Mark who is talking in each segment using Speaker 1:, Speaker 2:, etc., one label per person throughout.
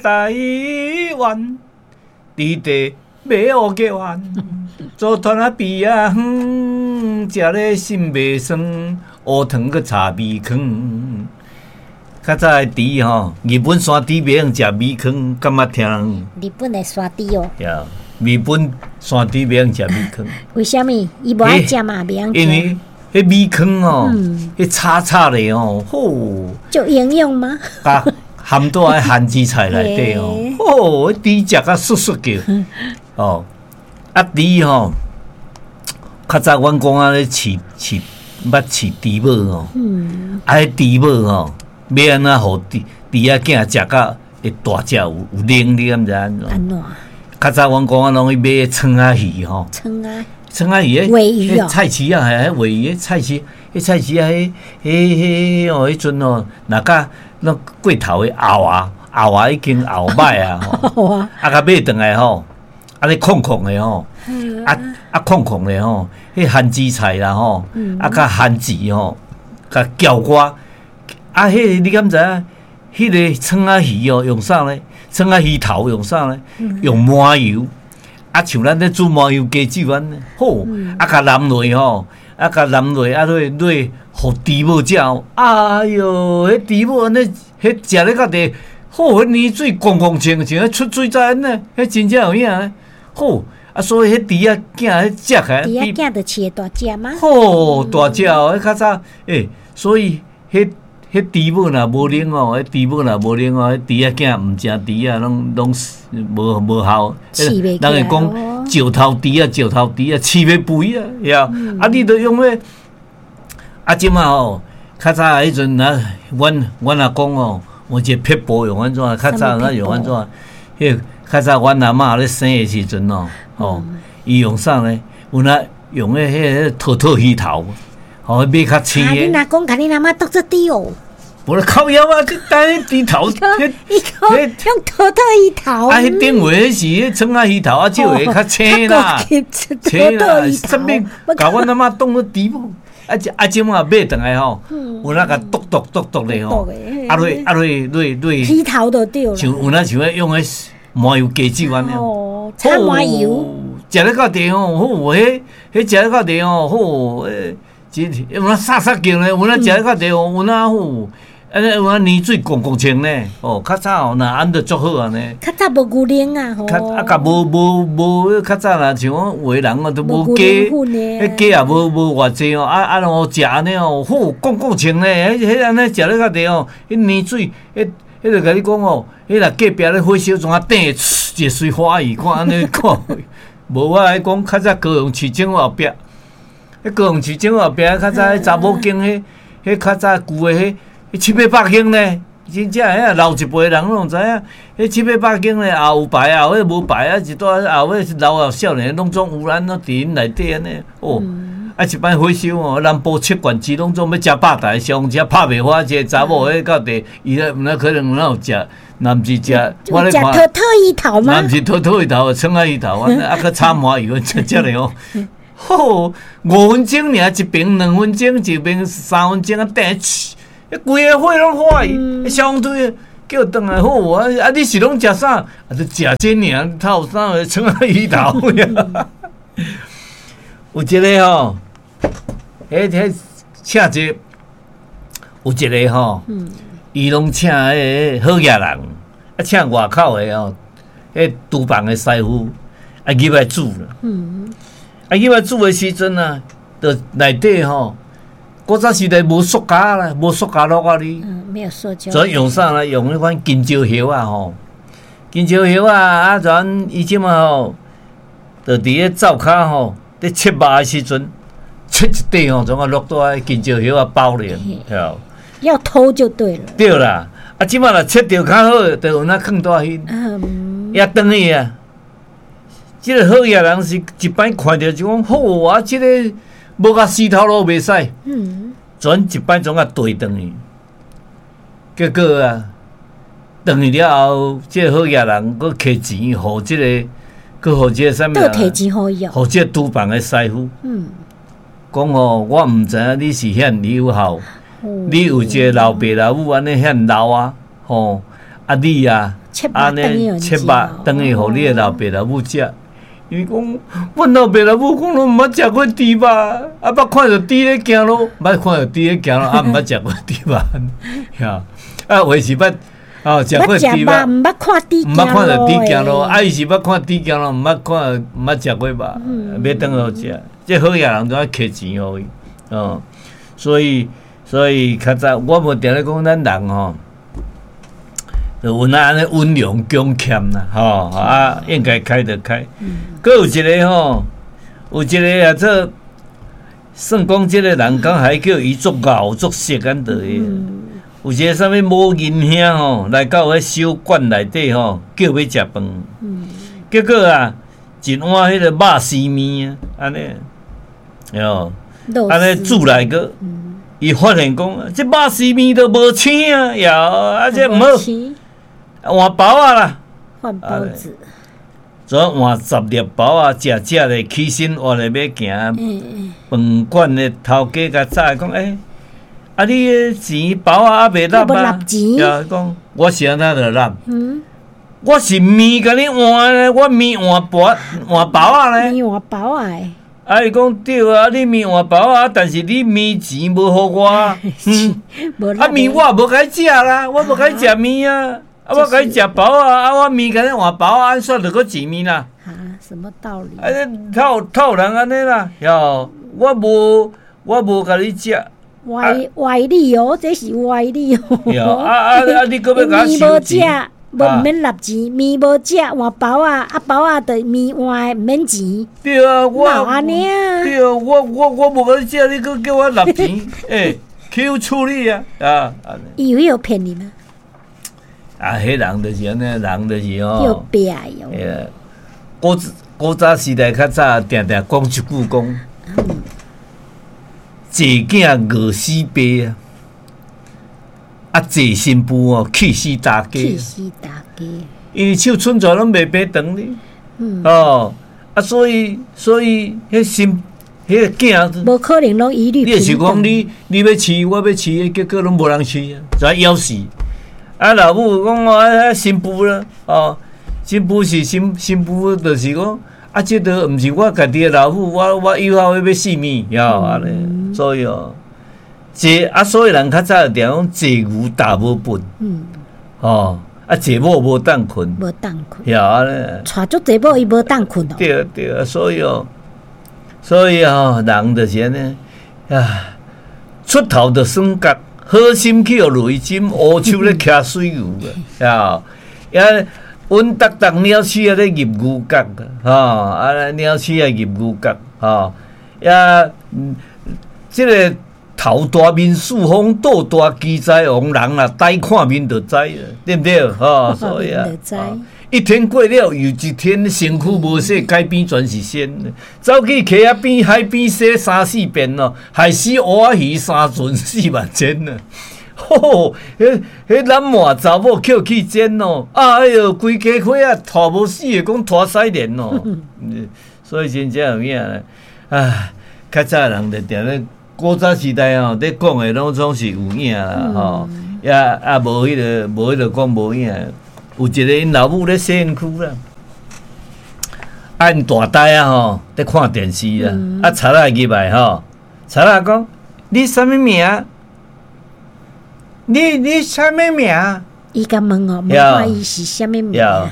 Speaker 1: 台灣，佇地欲烏雞丸，組團仔比仔遠，食咧心袂酸，烏糖閣炒米糠。較早的豬吼，日本山豬袂用食米糠，敢捌聽？
Speaker 2: 日本的山豬哦。
Speaker 1: 對，日本山豬袂用食米糠。
Speaker 2: 為啥物？伊無愛食嘛，袂用食。
Speaker 1: 因為彼米糠吼，彼炒炒咧吼，吼。
Speaker 2: 就營養嗎？
Speaker 1: 佮含佇番薯菜內底吼，吼，豬食甲窣窣叫。哦，啊豬吼，較早阮講啊咧飼飼，捌飼豬母吼，啊，彼豬母吼，欲按怎予豬豬仔囝食甲會大隻有有奶，你敢知按怎？
Speaker 2: 按怎？
Speaker 1: 較早阮公仔攏去買創仔魚吼，
Speaker 2: 創仔，
Speaker 1: 創仔魚，
Speaker 2: 鮪魚哦，
Speaker 1: 菜市仔，彼鮪魚，菜市，彼菜市仔，彼彼彼哦，彼陣哦，若佮那過頭的餡仔，餡仔已經餡歹啊，吼，啊，共買轉來吼，啊咧炕炕的吼，啊啊炕炕的吼，彼番薯菜啦吼，啊佮番薯吼，共攪拌，啊，彼個你敢知影？彼個創仔魚哦，用啥呢？創仔魚頭用啥呢？用麻油，啊，像咱咧煮麻油雞酒按呢，好，啊，共淋落吼，啊，共淋落，啊，落落，予豬母食，哎喲，彼豬母按呢，彼食咧較濟，好，彼奶水摃摃清，像彼出水仔按呢，彼真正有影，好，啊，所以彼豬仔囝彼食起來，
Speaker 2: 豬仔囝就飼會大隻嗎？
Speaker 1: 好，大隻哦，彼較早，欸，所以彼。彼豬母若無奶哦，彼豬母若無奶哦，彼豬仔囝毋成豬仔，攏攏無無效。人會講石頭豬仔，石頭豬仔，飼欲肥啊，呀！啊，你著用彼啊，這馬吼，較早彼陣啊，阮阮阿公哦，有一個撇步用按怎？較早咱用按怎？彼較早阮阿嬤咧生的時陣哦，吼，伊用啥呢？有那用彼個桃桃魚頭。哦，買較青的。
Speaker 2: 啊，恁阿公共恁阿嬤當做豬哦。
Speaker 1: 無咧靠腰啊！這等豬頭，
Speaker 2: 伊講用桃桃魚頭。
Speaker 1: 啊，彼頂回彼是彼創仔魚頭，啊，這回較青啦，青啦，啥物？共阮阿嬤當做豬母，啊啊，這馬買轉來吼，有那共剁剁剁剁咧吼，啊落啊落落落。
Speaker 2: 魚頭就對。
Speaker 1: 像有那像彼用彼麻油雞酒按呢。
Speaker 2: 哦，炒麻油。
Speaker 1: 食咧到底吼，好，彼彼食咧到底吼，好，欸。真有影沙沙叫呢，有影食咧較濟哦，有影好，按呢有影奶水摃摃清呢，哦，較早哦，若按著足好按呢。
Speaker 2: 較早無牛奶啊，吼。
Speaker 1: 較啊，共無無無，較早若像講有的人哦，都無雞，彼雞也無無偌濟哦，啊啊，哦食按呢哦，好摃摃清呢，彼彼按呢食咧較濟哦，彼奶水，彼彼就共你講哦，彼若隔壁咧火燒怎啊轉，一個隨歡喜看按呢看，無我來講較早高雄市政府後壁。彼高雄市政府後壁，較早彼查某間，彼彼較早舊的彼彼七八百間呢，真正遐老一輩人攏知影，彼七八百間呢，也有牌，也有無牌啊，一蹛後尾老後少年攏總有咱攏佇𪜶內底按呢，哦，啊一擺火燒哦，南部七縣市攏總欲食百台，消防車拍袂火，一個查某彼到底，伊咧毋知可能有哪有食，若毋是食，我咧看，
Speaker 2: 桃桃魚頭嗎？
Speaker 1: 若毋是桃桃魚頭，創仔魚頭，啊閣炒麻油，食食咧哦。好，五分鐘爾一爿，2分鐘一爿，3分鐘啊，轉，彼規個火攏火去，消防隊叫轉來好啊！啊，你是攏食啥？啊，就食這爾，透啥個創仔魚頭。有一個吼，彼彼請一個，有一個吼，伊攏請彼個好額人，啊，請外口的吼，彼廚房的師傅啊入來煮啦。啊，入來煮的時陣啊，就內底吼，古早時代無塑膠啦，無塑膠橐仔哩。
Speaker 2: 嗯，沒有塑膠。
Speaker 1: 所以用啥呢？用彼款香蕉葉仔吼，香蕉葉仔啊，咱伊這馬吼，就佇咧灶跤吼，咧切肉的時陣，切一塊吼，總啊落佇香蕉葉仔包咧，對。
Speaker 2: 要偷就對了。
Speaker 1: 對啦，啊，這馬若切著較好，就有那囥佇彼。嗯。也轉去啊。這個好額人是一擺看著就講好啊，這個無共死頭路袂使，轉一擺總共綴轉去。結果啊，轉去了後，這個好額人閣摕錢予這個，閣予這個啥物啊？
Speaker 2: 摕錢予伊
Speaker 1: 哦。予這個廚房的師傅。講吼，我毋知影你是遐爾有效，你有一個老爸老母按呢遐老啊，吼，啊你啊。按呢切肉轉去予你的老爸老母食。伊講，阮老爸老母講攏毋捌食過豬肉，啊捌看著豬咧行路，捌看著豬咧行路，啊毋捌食過豬肉，呀，啊有的是捌哦食過豬肉，
Speaker 2: 毋捌看豬，
Speaker 1: 毋捌看著豬行路，啊伊是捌看豬行路，毋捌看，毋捌食過肉，欲轉去予食，這好野人都愛揢錢予伊，哦，所以較早我無定咧講咱人吼，就有那按呢溫良恭儉啦，吼啊，應該開就開。閣有一個吼，有一個啊，做算講這個人講還叫伊足𠢕足識按的。有一個啥物某銀兄吼，來到彼小館內底吼，叫欲食飯。結果啊，一碗彼個肉絲麵啊，按呢，喲，按呢煮來閣，伊發現講，這肉絲麵都無青啊，喲，啊這毋好。換包仔啦，
Speaker 2: 換包子，
Speaker 1: 怎換10粒包仔，食食咧，起身活咧欲行。飯館的頭家共早講，欸，啊你的錢包仔猶未納啊？伊講我是按怎著納？我是麵共你換咧，我麵換包換包仔咧。
Speaker 2: 麵換包仔。
Speaker 1: 啊！伊講對啊，你麵換包仔，但是你麵錢無予我。啊，麵我也無共你食啦，我無共你食麵啊。啊！我共你食包仔，啊！我麵共你換包仔，按算著閣錢麵啦。
Speaker 2: 啊，什麼道理？
Speaker 1: 啊！套套人按呢啦，喲，我無共你食。
Speaker 2: 歪歪理哦，這是歪理哦。
Speaker 1: 啊啊啊！你閣欲共我收錢？
Speaker 2: 無毋免納錢，麵無食換包仔，啊包仔著麵換的毋免錢。
Speaker 1: 對啊，我
Speaker 2: 按呢啊？
Speaker 1: 對啊，我無共你食，你閣叫我納錢？欸，去處理啊！啊，
Speaker 2: 伊有有騙你嗎？
Speaker 1: 啊，彼人就是按呢，人就是吼。
Speaker 2: 叫壁喲。
Speaker 1: 古早時代較早，定定講一句講，濟囝餓死爸啊！啊，濟新婦哦，氣死大家。
Speaker 2: 氣死大家。
Speaker 1: 因為手伸出來攏袂爬長哩。哦，啊，所以彼新彼个囝，
Speaker 2: 無可能攏一律
Speaker 1: 你就是講你欲飼，我欲飼，結果攏無人飼啊，就枵死。啊，老母講啊，新婦啦，哦，新婦是新婦，就是講啊，這都毋是我家己的老母，我以後欲死物，喲按呢，所以哦，這啊，所以人較早就定講濟牛踏無糞，哦，啊，濟某無當睏，
Speaker 2: 無當睏，
Speaker 1: 喲按呢，
Speaker 2: 娶足濟某伊無當睏哦，
Speaker 1: 對對，所以哦，所以哦，人就是按呢，啊，出頭就耍角。好心去予雷針，烏手咧騎水牛啊！呀，穩當當鳥鼠仔咧入牛角，吼啊，鳥鼠仔入牛角，吼呀，這個頭大面四方，肚大奇才王，人若呆看面就知，對毋對？吼，所以啊，一天過了又一天，身軀無洗，街邊全是仙。走去溪仔邊、海邊洗三四遍咯，害死烏仔魚三船4萬千啊！吼，彼彼攬滿查某抾去煎咯，哎喲，規家伙仔拖無死的，講拖屎鏈咯。所以真正有影，唉，較早人就定咧古早時代吼，咧講的攏總是有影啦，吼，也啊無彼個無彼個講無影。有一个𪜶老母咧洗身軀啦，啊𪜶大呆仔吼咧看電視啦，啊賊仔入來吼，賊仔講你啥物名？你啥物名？
Speaker 2: 伊共問哦，問看伊是啥物名？
Speaker 1: 啊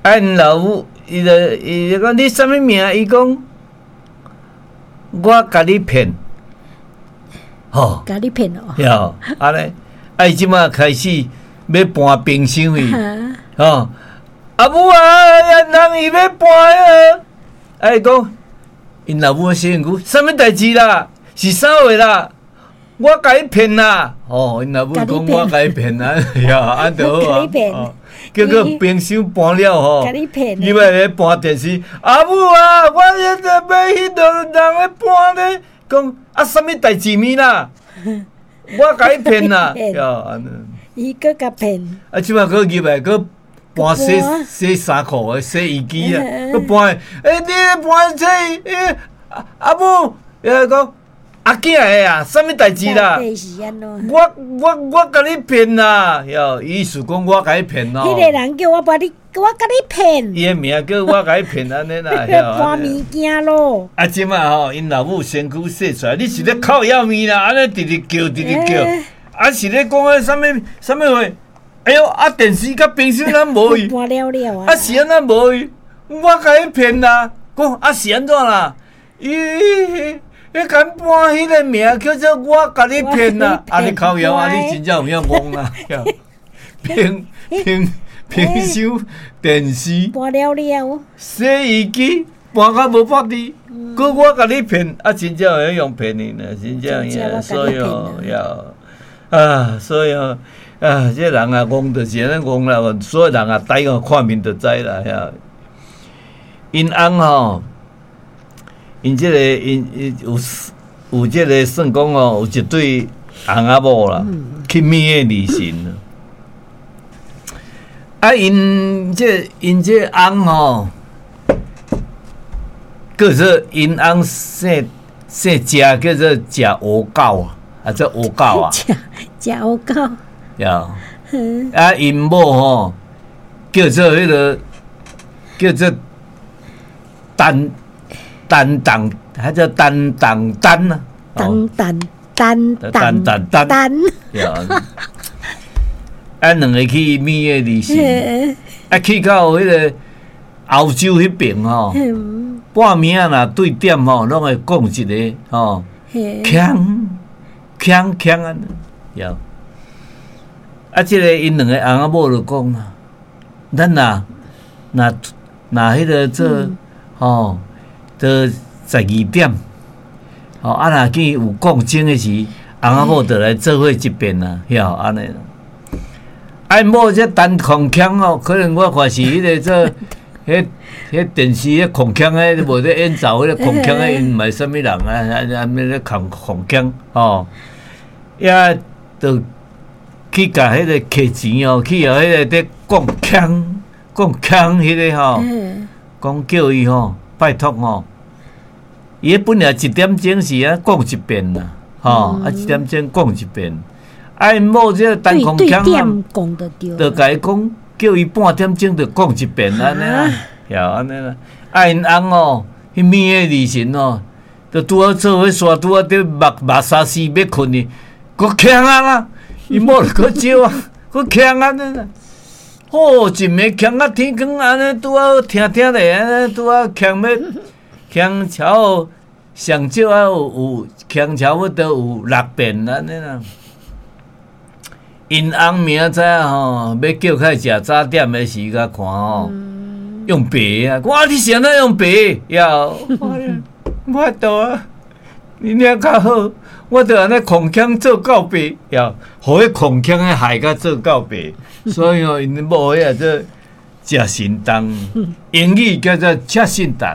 Speaker 1: 𪜶老母伊就講你啥物名？伊講我共你騙，吼，
Speaker 2: 共你騙哦，
Speaker 1: 喲，按呢，啊伊這馬開始欲搬冰箱去，吼，阿母啊，人伊欲搬啊，啊伊講，𪜶老母洗身軀，啥物代誌啦？是啥話啦？我共你騙啦！吼，𪜶老母講我共你騙啊，呀，按就好啊。結果冰箱搬了吼，伊欲咧搬電視，阿母啊，我現在欲彼落人咧搬咧，講啊，啥物代誌物啦？我共你騙啦！喲，按呢。
Speaker 2: 伊閣共騙。
Speaker 1: 啊，這擺閣入來閣搬洗洗衫褲的洗衣機啊，閣搬，欸，你搬這，欸，阿母，伊講。阿囝的啊，啥物代志啦？我共你騙啦！喲，意思講我共你騙哦。
Speaker 2: 彼个人叫我把你，我共你騙。
Speaker 1: 伊的名叫我共你騙按呢啦。
Speaker 2: 搬物件咯。
Speaker 1: 啊，這擺吼，𪜶老母身軀說出來，你是咧靠腰物啦？按呢直直叫，直直叫，啊是咧講彼啥物啥物話？哎喲，啊電視佮冰箱咱無去。
Speaker 2: 搬了了啊！
Speaker 1: 啊是按怎無去？我共你騙啦！講啊是按怎啦？咦？你敢搬彼个名叫做我共你騙啦？啊，你靠腰啊！你真正有影戇啦！冰冰冰箱、電視
Speaker 2: 搬了了，
Speaker 1: 洗衣機搬甲無百滴，閣我共你騙啊！真正會用騙你呢，真正影，所以哦，要啊，所以哦，啊，這人啊，戇就是按呢戇啦，所以人啊，呆哦，看面就知啦，遐。𪜶翁吼。𪜶這个𪜶𪜶有有這个算講哦，有一對翁仔某啦，去覕的離神。啊，𪜶這翁吼，叫做𪜶翁姓姓謝，叫做謝烏狗啊，啊，這烏狗啊，
Speaker 2: 食食烏狗。
Speaker 1: 呀，啊，𪜶某吼叫做彼个叫做陳。陳當，彼叫陳當丹啊！
Speaker 2: 陳陳陳
Speaker 1: 陳陳丹。啊，兩个去覕的離神，啊，去到彼个歐洲彼爿吼，半暝仔若對點吼，攏會講一个吼，鏘鏘鏘按呢，著。啊，這个𪜶兩个翁仔某就講啊，咱若若若彼个做吼。到12點，吼啊！若見有講鐘的時，翁仔某就來做伙一遍啊，曉按呢。啊，某這陳空腔哦，可能我看是彼个做，彼彼電視彼空腔的，無咧演奏彼个空腔的，𪜶毋是啥物人啊？啊啊，咧空空腔吼，遐就去共彼个摕錢哦，去予彼个佇講腔講腔彼个吼，講叫伊吼。拜託吼，伊本來一點鐘是啊講一遍啦，吼啊一點鐘講一遍，啊𪜶某這個陳空腔啊，就共伊講，叫伊半點鐘就講一遍按呢啦，曉按呢啦。啊𪜶翁哦，彼暝的時辰哦，就拄好做伙煞，拄好佇目目沙絲欲睏去，閣嗆啊啦，𪜶某就閣招啊，閣嗆按呢啦。哦，一暝嗆到天光按呢，拄好聽聽咧，按呢拄好嗆欲嗆超上少啊有有嗆差不多有六遍按呢啦。𪜶翁明仔載吼，欲叫起來食早點的時，共看吼，用白啊！我你是按怎用白？吆，無法度啊！你爾較好，我著按呢空腔做到白，吆，予彼空腔的害甲做到白。所以哦，𪜶某彼个做食神重，英語叫做食神重，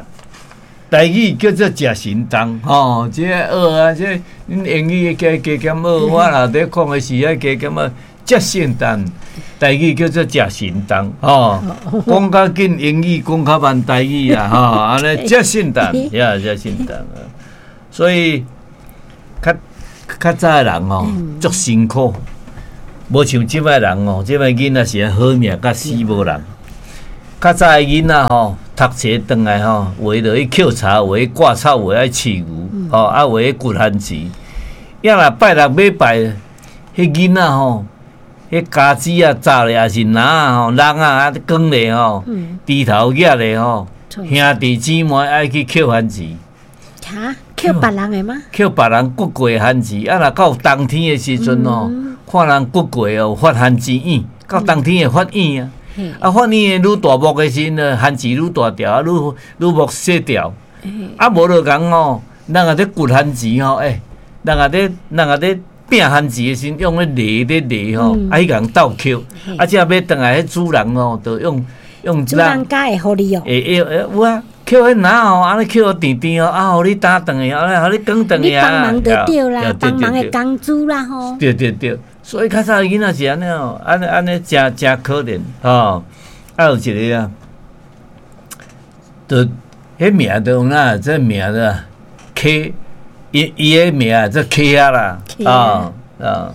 Speaker 1: 台語叫做食神重。吼，這个學啊，這恁英語加加減學，我若佇講的時愛加減學食神重，台語叫做食神重。吼，講較緊英語，講較慢台語啦，吼，按呢食神重，呀，食神重。所以較較早的人吼，足辛苦。無像這擺人哦，這擺囡仔是好命甲死無人。較早的囡仔吼，讀冊轉來吼，有的就去抾柴，有的割草，有的愛飼牛，吼啊，有的掘番薯。抑若拜六禮拜，彼囡仔吼，彼家子啊、紮咧，抑是籃仔吼、籠仔啊、扛咧吼，豬頭額咧吼，兄弟姊妹愛去抾番薯。
Speaker 2: 哈？抾別人的嗎？
Speaker 1: 抾別人割過的番薯，啊，若到冬天的時陣吼，看人割過有發番薯莨，到冬天會發莨啊。啊，發莨的愈大木的時陣，番薯愈大條，啊，愈愈木細條。啊，無就講吼，人若咧掘番薯吼，欸，人若咧拚番薯的時陣，用彼犁咧犁吼，啊，彼共鬥抾。啊，這欲轉來，彼主人吼，就用用
Speaker 2: 主人家會予你哦。
Speaker 1: 會會有啊。抾彼籃吼，按呢抾予甜甜吼，啊，予你擔轉來，按呢予你扛轉來啊。
Speaker 2: 你幫忙就對啦，幫忙的工資啦吼。
Speaker 1: 對對對，所以較早囡仔是按呢哦，按呢按呢誠誠可憐吼。啊，有一个啊，就彼名就有哪，這名字 K 伊伊的名做溪仔啦，啊啊，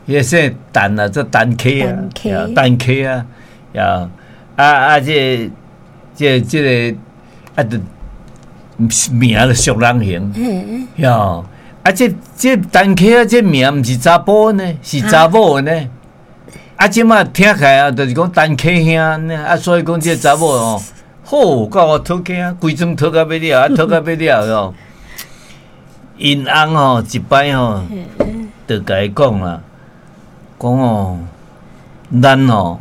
Speaker 1: 伊个姓陈啊，做陈溪啊，陈溪啊，呀，啊啊，这这这个啊，就名就俗人型，哟，啊，这这陈溪仔这名毋是查埔呢，是查某呢，啊，这马听起来啊，就是讲陈溪兄呢，啊，所以讲这查某哦，好，甲我讨惊，规庄讨甲欲了，啊，讨甲欲了哟。𪜶翁吼一摆吼，就共伊讲啦，讲哦，咱吼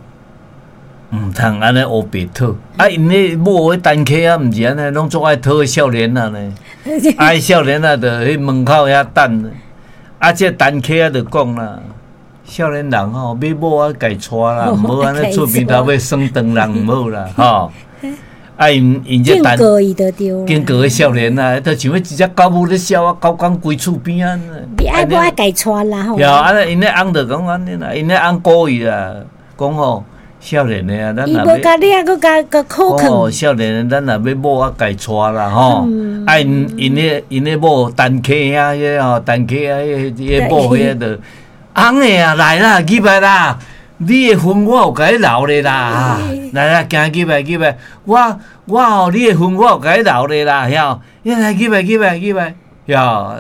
Speaker 1: 毋通按呢乌白讨，啊，𪜶彼某彼陈溪仔，毋是按呢，拢足爱讨彼少年仔呢，啊，彼少年仔就彼门口遐等，啊，这陈溪仔就讲啦，少年人吼欲某啊家带啦，毋好按呢厝边头欲耍唐人毋好啦，吼。啊！𪜶𪜶这陈经过彼少年啊，就像彼一只狗母咧潲啊，狗倌规厝边仔。
Speaker 2: 你爱无爱家带啦吼？
Speaker 1: 对啊，𪜶彼翁就讲按呢啦，𪜶彼翁故意啦，讲吼少年的啊，咱若欲，
Speaker 2: 伊无共你啊，阁共阁苦劝。
Speaker 1: 哦，少年的，咱若欲某啊，家带啦吼。啊，𪜶𪜶彼𪜶彼某陈溪仔，彼个吼陈溪仔，彼彼某彼个就翁的啊，来啦，入来啦。你的份我有共你留咧啦，来啦，行入来入来，我我吼，你的份我有共你留咧啦，晓？你来入来入来入来，晓？啊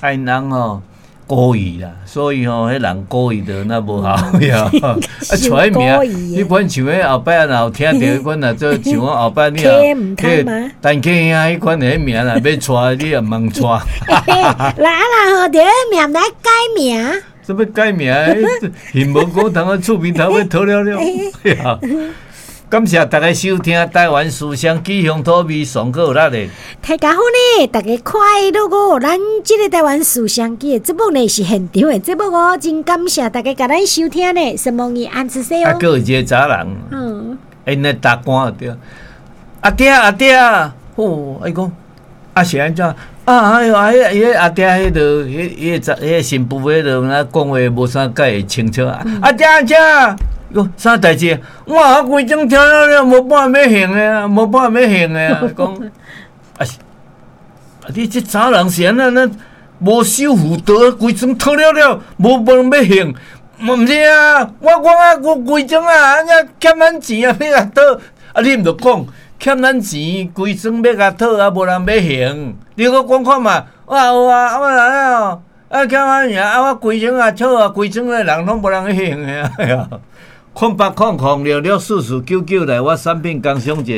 Speaker 1: ，𪜶翁吼故意啦，所以吼，彼人故意就若无效，晓？啊，取彼名，彼款像彼后摆若有听著彼款若做像我后摆你
Speaker 2: 也，彼
Speaker 1: 陈溪兄彼款的彼名若欲带，你也毋通带。
Speaker 2: 来啊啦，好，著名来改名。
Speaker 1: 啥物改名？现无讲通啊，厝边头欲讨了了。感谢大家收听台湾思想基乡土味上阁有力的。
Speaker 2: 大家好呢，大家快乐哦！咱这个台湾思想基的节目呢是现场的节目哦，真感谢大家共咱收听呢。什么你安子说哦？
Speaker 1: 啊，阁有一个查人，𪜶咧搭歌对。阿爹阿爹，哦，伊讲啊是按怎？啊，哎哟，啊，彼彼阿爹彼个，彼彼个彼个新妇彼个，若讲话无啥介会清楚。阿爹阿爹，伊讲啥代志？我规庄听了了，无半欲还的啊，无半欲还的啊。讲啊是，啊你这查人是按怎？咱无守妇道，规庄讨了了，无无人欲还。毋是啊，我讲啊，我规庄啊，按怎欠咱钱啊，欲共讨。啊，你毋著讲。欠咱钱，规庄欲共讨啊，无人欲还。你阁讲看嘛，我有啊，我来哦，啊欠咱钱啊，我规庄啊讨啊，规庄的人拢无人去还的啊。0800664499来，我产品工商者。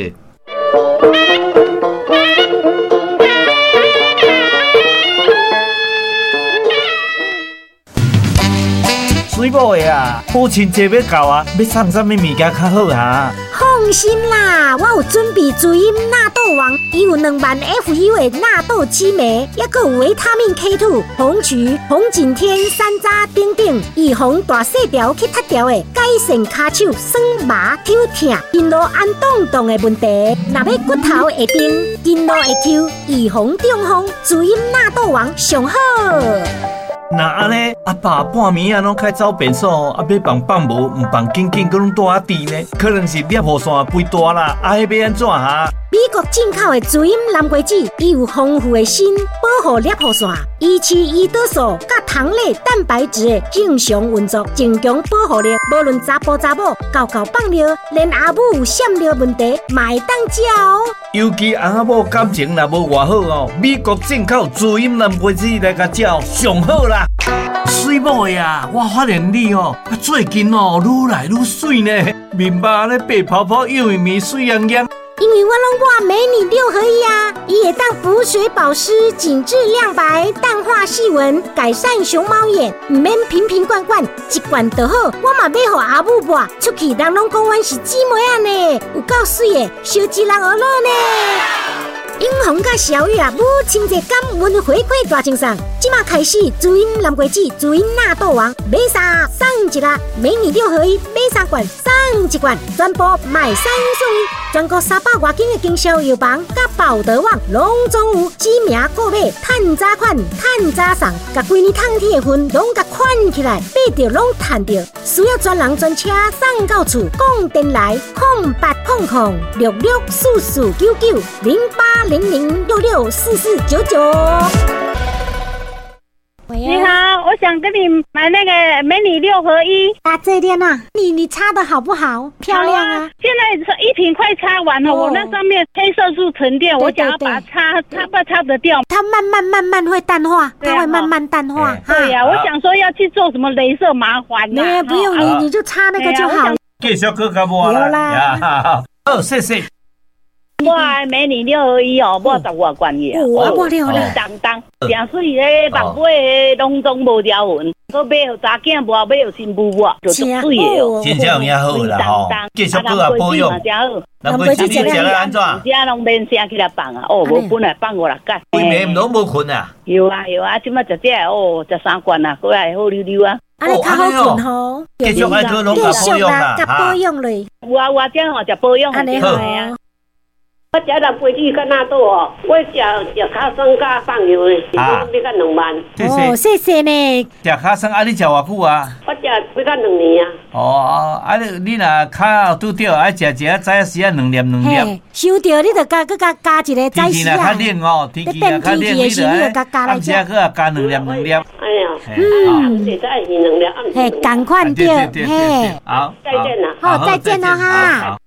Speaker 1: 水某的啊，母亲节欲到啊，欲送啥物物件较好啊？
Speaker 2: 放心啦，我有准备滋阴纳豆王，伊有2万 FU 的纳豆激酶，抑阁有维他命 K2、红曲、红景天、山楂等等，预防大细条去脱条的，改善跤手酸麻抽痛、筋劳按动动的问题。若欲骨头会硬，筋劳会抽，预防中风，滋阴纳豆王上好。
Speaker 1: 若按呢，阿爸半暝啊拢开走便所，啊欲放放无，毋放紧紧，阁拢蹛仔挃呢？可能是尿路线肥大啦，啊，彼欲按怎哈？
Speaker 2: 美国进口的滋阴南瓜子，伊有丰富的鋅，保护尿路线，维持胰岛素佮糖类蛋白质的正常运作，增强保护力。无论查埔查某，敎敎放尿，连阿母有闪尿问题，嘛会当食哦。
Speaker 1: 尤其翁仔某感情若无偌好哦，美国进口滋阴南瓜子来共食上好啦。水某的啊，我发现你哦，最近哦愈来愈媠呢，面目咧白泡泡，幼咪媠洋洋。
Speaker 2: 因为我拢抹美女六合一啊，伊会当补水保湿、紧致亮白、淡化细纹、改善熊猫眼，毋免瓶瓶罐罐，一罐就好。我嘛买予阿母抹，出去人拢讲阮是姊妹仔呢，有够媠的，烧一人学乐呢。永红佮小玉啊，母亲节感恩回馈大赠送，这马开始滋阴南瓜子、滋阴纳豆王，买三送一啦，美女六合一买三罐送一罐，全部买三送一，全国300外间的经销药房佮宝德网拢总有，指名购买，趁早款，趁早送，共规年冬天的份拢共款起来，买著拢趁著，需要专人专车送到厝，讲电来080066449908。0800664499。
Speaker 3: 你好，我想跟你买那个美女六合一。
Speaker 2: 啊，这边啊，你擦的好不好？漂亮啊！
Speaker 3: 现在一瓶快擦完了，我那上面黑色素沉淀，我想要把它擦，擦不擦得掉？
Speaker 2: 它慢慢慢慢会淡化，它会慢慢淡化。
Speaker 3: 对呀，我想说要去做什么雷射麻烦。
Speaker 2: 没，不用你，你就擦那个就好。
Speaker 1: 继续阁较无啦。好，谢谢。
Speaker 4: 我的美女六合一哦，抹十外罐去啊，
Speaker 2: 哦，
Speaker 4: 当当，诚水咧，目尾拢总无条纹，阁买予查囝抹，买予新妇抹，就足水的哦。
Speaker 1: 真正有影好啦吼，继续阁啊保养。南瓜子你食了按怎？
Speaker 4: 遮拢免声起来放啊，哦，无本来放五六工。
Speaker 1: 规暝拢无困啊？
Speaker 4: 有啊有啊，这摆食这哦，食三罐啊，阁会好溜溜啊。
Speaker 2: 啊，你较好困吼。
Speaker 1: 继续爱阁拢共保养啦，
Speaker 2: 共保养咧。
Speaker 4: 有啊有啊，这吼食保养。
Speaker 2: 按呢好啊。
Speaker 5: 我食南瓜子佮纳豆哦，我食食尻川佮放油的，是讲欲甲2万。
Speaker 2: 哦，谢谢呢。
Speaker 1: 食尻川啊，你食偌久啊？
Speaker 5: 我食欲甲2年啊。
Speaker 1: 哦，啊你你若跤拄著爱食一下早时啊两粒两粒。
Speaker 2: 收著你就加阁加加一个早时啊。
Speaker 1: 天气若较冷哦，天气若较冷，你就暗时阁啊加两粒两粒。
Speaker 5: 哎呀，嗯，会使是两粒，暗时。
Speaker 2: 嘿，仝款对，嘿。
Speaker 1: 好，
Speaker 5: 再见啦。
Speaker 2: 好，再见了哈。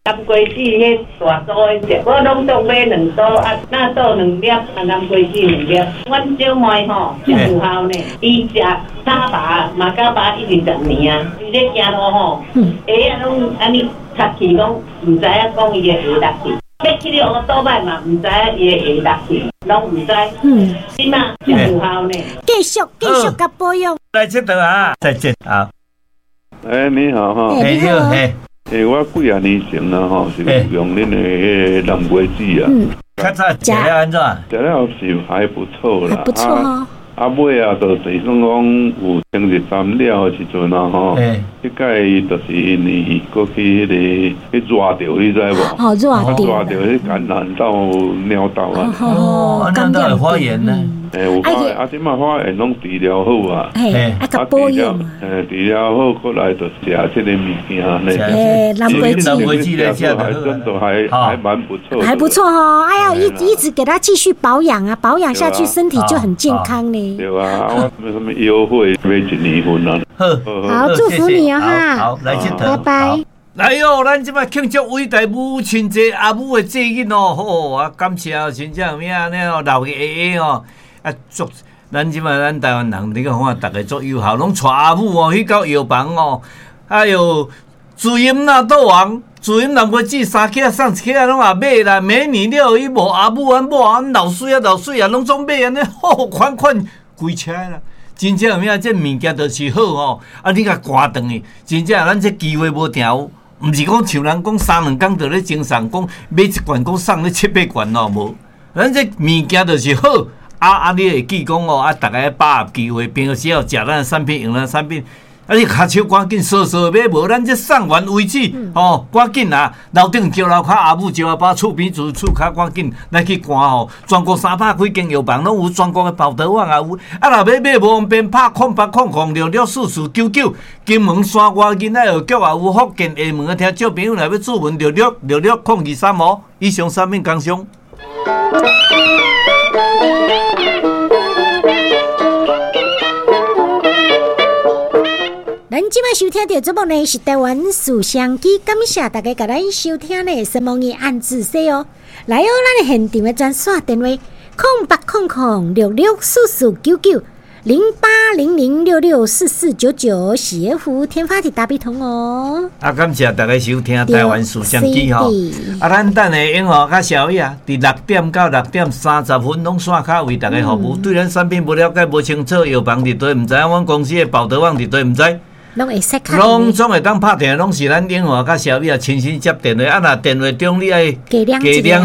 Speaker 4: 南瓜子彼大组彼只，我拢总买2组，啊，纳豆2粒，啊，南瓜子2粒。阮小妹吼真有效呢，伊食三拔马嘎巴已经10年啊，伊咧行路吼，鞋仔拢按呢擦去，讲毋知影讲伊的鞋落去，欲去咧乌倒摆嘛，毋知影伊的鞋落去，拢毋知。这马真有效呢。
Speaker 2: 继续继续共保养。
Speaker 1: 来这度啊，再见啊。
Speaker 6: 欸，你好哈。
Speaker 1: 你好。
Speaker 6: 欸，我几啊年前啊吼，是用恁的彼个南瓜子啊。
Speaker 1: 较早食了按怎？
Speaker 6: 食了是还不错啦。
Speaker 2: 不错哦。
Speaker 6: 啊，尾啊，就是算讲有清日三了的时阵啊吼，彼届就是因为阁去彼个去热著，你知无？
Speaker 2: 哦，热著。
Speaker 6: 热著，彼感染到尿道啊。
Speaker 1: 哦，尿道会发炎呢。
Speaker 6: 欸，有发炎，啊，这马发炎拢治疗好啊。
Speaker 2: 嘿，啊，共保养。
Speaker 6: 欸，治疗好，过来就食这个物件呢。
Speaker 2: 欸，南瓜子，
Speaker 1: 南瓜子来食，
Speaker 6: 还真的还蛮不错。
Speaker 2: 还不错哦，哎呀，一直给他继续保养啊，保养下去身体就很健康呢。
Speaker 6: 对啊，我什么优惠买一年份啊。
Speaker 1: 好，
Speaker 2: 好，祝福你啊哈。
Speaker 1: 好，来这
Speaker 2: 头，拜拜。
Speaker 1: 来哟，咱这摆庆祝伟大母亲节，阿母的节日哦，好啊，感谢真正有影呢哦，老个爷爷哦。啊，足！咱这摆咱台湾人，你看看，逐家足友好，拢带阿母哦去到药房哦。哎哟，自营纳豆王，自营南瓜子三克送一克拢也买啦。美女了伊无阿母，阮某阮老水啊老水啊，拢总买按呢，好款款规车啦。真正有影，这物件就是好吼。啊，你共赶转去，真正咱这机会无定有。毋是讲像人讲三两工就咧精送，讲买一罐讲送咧七八罐哦，无。咱这物件就是好。啊啊！你会记讲哦，啊，逐家把握机会，平常时要食咱的产品，用咱的产品。啊，你跤手赶紧扫扫买，无咱这送完为止吼，赶紧啊！楼顶招楼跤，阿母招阿爸，厝边厝厝跤赶紧来去赶吼。全国300几间药房拢有，全国的报道网也有。啊，若欲买无方便，拍0800664499。金门山外囡仔学局也有，福建厦门的听众朋友若欲注文6666 023哦。以上产品工商。
Speaker 2: 咱这摆收听到节目呢，是台湾事双机，感谢大家共咱收听呢，什么的暗自说哦。来哦，咱的现场的专线电话：0800664499，0800664499，是服天发的大笔通哦。
Speaker 1: 啊，感谢大家收听台湾事双机吼。啊，咱等下永和佮小雨啊，伫6点到6点30分拢线卡为大家服务。对咱产品无了解、无清楚，药房伫佗毋知影，阮公司的报道网伫佗毋知。
Speaker 2: 拢会使敲，
Speaker 1: 拢总会当拍电话，拢是咱永和佮小米啊亲身接电话。啊，若电话中你爱加两一个，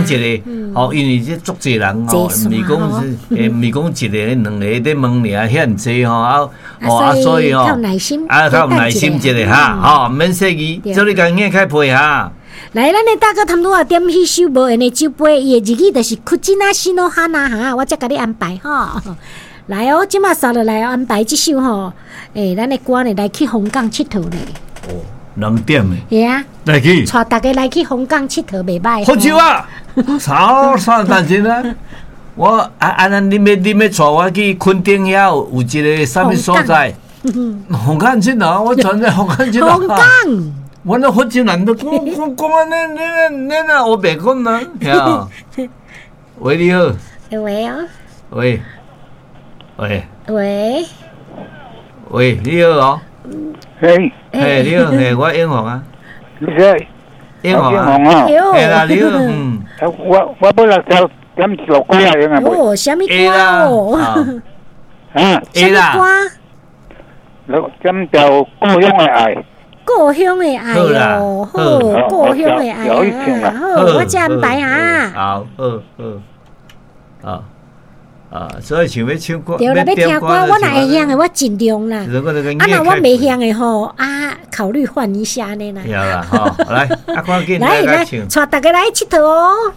Speaker 1: 吼，因为这足济人吼，毋是讲是，毋是讲一个、两个咧问尔，遐济吼，啊，哦啊，所以吼，啊，较有耐心一下哈，吼，免说伊，做你共硬开配哈。
Speaker 2: 来，咱的大哥头拄仔点彼首无闲的酒杯，伊的日语就是库吉纳西诺哈纳哈，我才共你安排吼。来哦，这马刷落来安排这首吼，欸，咱的歌呢来去香港𨑨迌咧。
Speaker 1: 哦， 2點的。
Speaker 2: 會啊，
Speaker 1: 來去。
Speaker 2: 帶大家來去鳳港𨑨迌袂䆀。
Speaker 1: 福州啊，啥啥代誌啊？我啊啊！恁欲帶我去墾丁遐有一個啥物所在？鳳港佚佗，我傳在鳳港佚佗。
Speaker 2: 鳳港。
Speaker 1: 我那福州人都講講講啊！恁恁恁啊，烏白講啊！喂，你好。
Speaker 2: 喂哦。
Speaker 1: 喂。喂。
Speaker 2: 喂。
Speaker 1: 喂，你好哦。
Speaker 7: 嘿。
Speaker 1: 嘿，你好，嘿，我英雄啊。
Speaker 7: 你誰？
Speaker 1: 英雄啊。嘿啦，你好，嗯。
Speaker 7: 我欲來聽點一首歌啊，用啊？
Speaker 2: 哦，啥物歌哦？
Speaker 7: 啊，
Speaker 2: 啥物歌？
Speaker 7: 點條故鄉的愛。
Speaker 2: 故鄉的愛哦，好，故鄉的愛啊，好，我這安排啊。
Speaker 1: 好，好，好，啊啊，所以想欲唱歌，
Speaker 2: 對啦，欲聽歌，我若會曉的，我盡量啦。啊，若我袂曉的吼，啊，考慮換一下呢啦。
Speaker 1: 對啦，好，來，啊，趕緊
Speaker 2: 來來，帶大家來𨑨迌哦。